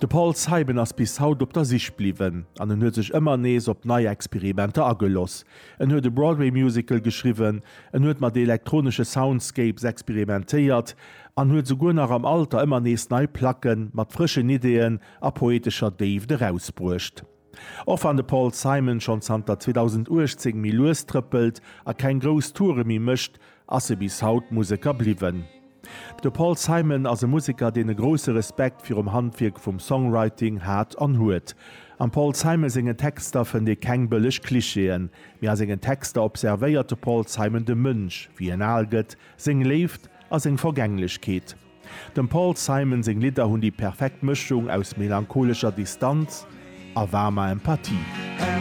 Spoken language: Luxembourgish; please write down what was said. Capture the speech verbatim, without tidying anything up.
De Paul Simon ass bis haut op der Sich bliwwen an en huet sech ëmmer nees op nei Experimenter agelooss. En huet e Broadway Musical geschriwwen, en huet mat elektronesche Soundscapes experimentéiert an huet souguer nach am Alter ëmmer nees nei Placken mat frëschen Ideeën a poetescher Déift erausbruecht. Och wann de Paul Simon schonn zanter zweedausenduechtzéng méi lues trëppelt a keng grouss Toure méi mécht, ass e bis haut Museker bliwwen. De Paul Simon ass e Museker, deen e grousse Respekt virum Handwierk vum Songwriting hat an huet. Am Paul Simon sengen Texter fënnt ee keng bëlleg Klischeeën, mee a sengen Texter observéiert de Paul Simon de Mënsch, wéi en al gëtt, seng Léift a seng Vergänglechkeet. Dem Paul Simon seng Lidder hunn déi perfekt Mëschung aus melancholescher Distanz a waarmer Empathie.